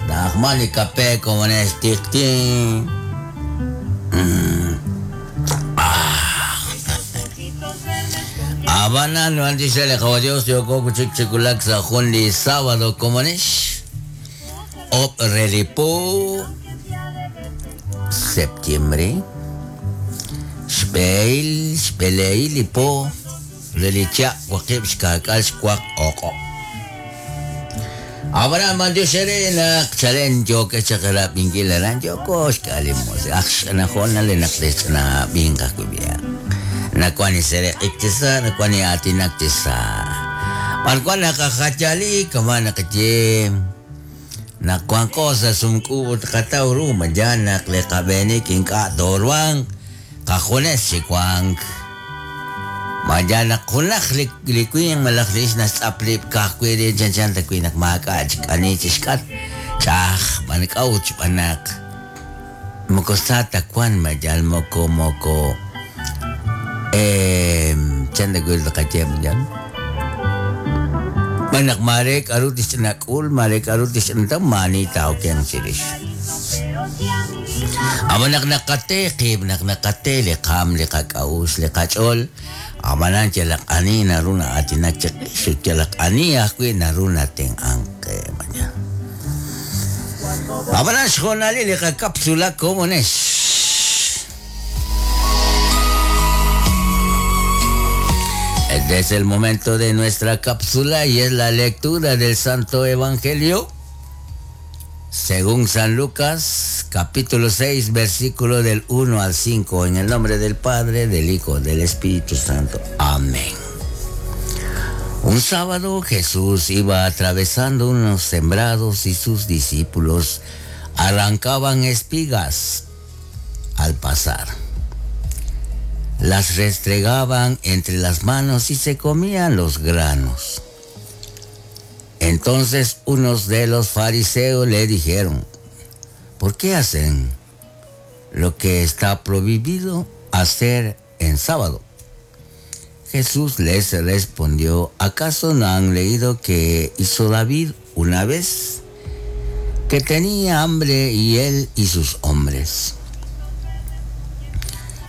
Na'ajman li kape komonex tiqti. Ab'anan b'antiox re li Qawa' Dios yooko wi' chik chi wulak sa' jun li sábado komonex ob' re li po septiembre xb'ehil xb'eleehil li po re li chaq' waqib' xkaak'al xwaq o'q'ob'. Ab'anan b'antiox eere naq chalen yookex chaq rab'inkil aran yooko xk'al li musiq'. Aj xch'ina hoonal li naq texch'inab'inq ajwi' b'i'an. Nawan li sereq'ik chi sa', nawan li aatinak chi sa'. B'arwan naqajayali kama' naqaye naq wanqo sa' sumk'uub' ut qataw ru ma yaal naq li qab'eenik ink'a' tooruhanq qajunes chi wank. Ma yaal naq junaq li li winq malaj li ixq naxtz'ap rib' ka'ajwi' rib' chanchan ta wi' naq maak'a' chik ani chi xk'atq, ch'a'aj b'an k'a'ut xb'aan naq moko sa ta wank ma yal moko moko chan ta wi' tqaye ma yal xb'aan naq maare k'a'ru tixch'inak'ul, maare k'a'ru tixch'inataw maa'ani taa'okenq chirix. Ab'an naq naqate qib', naq naqate li qaanm, li qak'a'uxl, li qach'ool, ab'anan yalaq ani naru na'aatinak chiqix ut yalaq ani ajwi' naru natenq'ank qe. Ab'anan xhoonalil li qakapsula komonex. Este es el momento de nuestra cápsula y es la lectura del Santo Evangelio según San Lucas, capítulo 6, versículo del 1 al 5, en el nombre del Padre, del Hijo, del Espíritu Santo. Amén. Un sábado Jesús iba atravesando unos sembrados y sus discípulos arrancaban espigas al pasar. Las restregaban entre las manos y se comían los granos. Entonces unos de los fariseos le dijeron, ¿por qué hacen lo que está prohibido hacer en sábado? Jesús les respondió, ¿acaso no han leído que hizo David una vez? Que tenía hambre y él y sus hombres.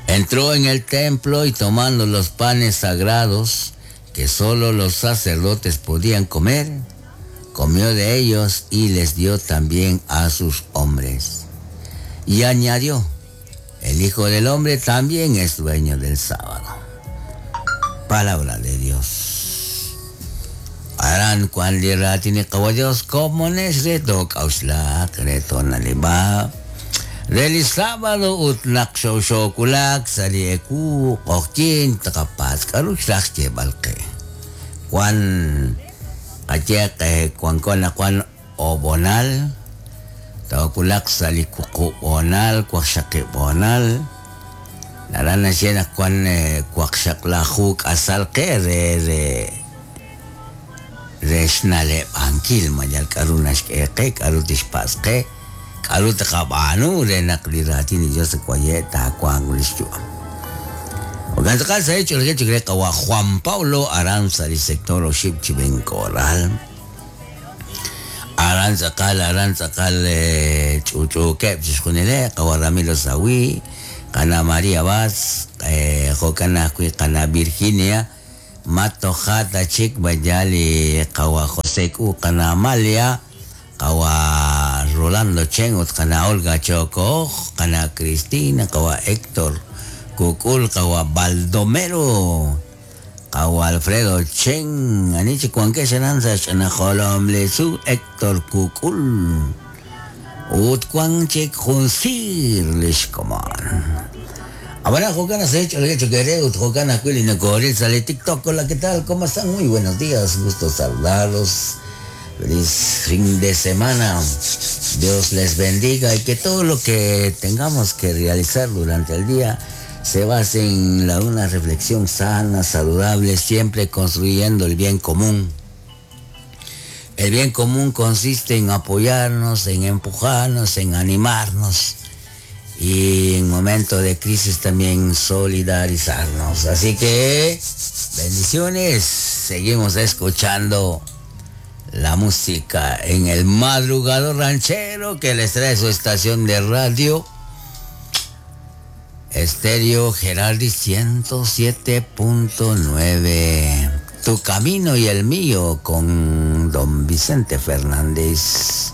Entró en el templo y tomando los panes sagrados que solo los sacerdotes podían comer, comió de ellos y les dio también a sus hombres. Y añadió, el Hijo del Hombre también es dueño del sábado. Palabra de Dios. Aran kwan li raatin li Qawa' Dios komonex re took'a'uxlaq re toona'leb'aq re li sábado ut naq xoxoowulak sa' li ewu q'oqyink tqapatz' k'a'ru xraj xyeeb'al qe. Wan qayehaq wanko anaqwan ob'onal toowulaq sa' li wuqub' hoonal, waqxaqib' hoonal, naraj naxye naq wan waqxaqlaju k'asal qe re re re xna'leb'ankil ma yal k'a'ru naxk'e qe, k'a'ru tixpatz' qe, k'a'ru tqab'aanu re naq li raatin li Dios waye' taawanq li xyu'am. Jo'kan tz'aqal sa' ch'oolej chik re qawa' Juan Pablo aran sa' li sector oxib' chi Benkoral. Aran tz'aqal, aran tz'aqal ch'uch'uukeb' chixjunileb' qawa' Ramiro Sawi, qana' María Vaz, jo'kan ajwi' qana' Virginia, ma toja' ta chik b'aya li qawa' José K'u, qana' Amalia, qawa' Rolando Chen ut qana' Olga Chokooj, qana' Cristina, qawa' Héctor Kuk'ul, qawa' Baldomero, qawa' Alfredo Chen, ani chik wankex aran sa' xch'ina jolom li tzuul Héctor Kuk'ul ut wan chik jun siir li xkomon. Ab'anan jo'kan naq sa' ch'oolej chik eere ut jo'kan ajwi' li nokooril sa' li TikTok. Hola, ¿qué tal? ¿Cómo están? Muy buenos días, gusto saludarlos. Feliz fin de semana. Dios les bendiga y que todo lo que tengamos que realizar durante el día se base en la, una reflexión sana, saludable, siempre construyendo el bien común. El bien común consiste en apoyarnos, en empujarnos, en animarnos y en momentos de crisis también solidarizarnos. Así que bendiciones, seguimos escuchando La música en el madrugador ranchero que les trae su estación de radio. Estéreo Geraldi 107.9. Tu camino y el mío con don Vicente Fernández.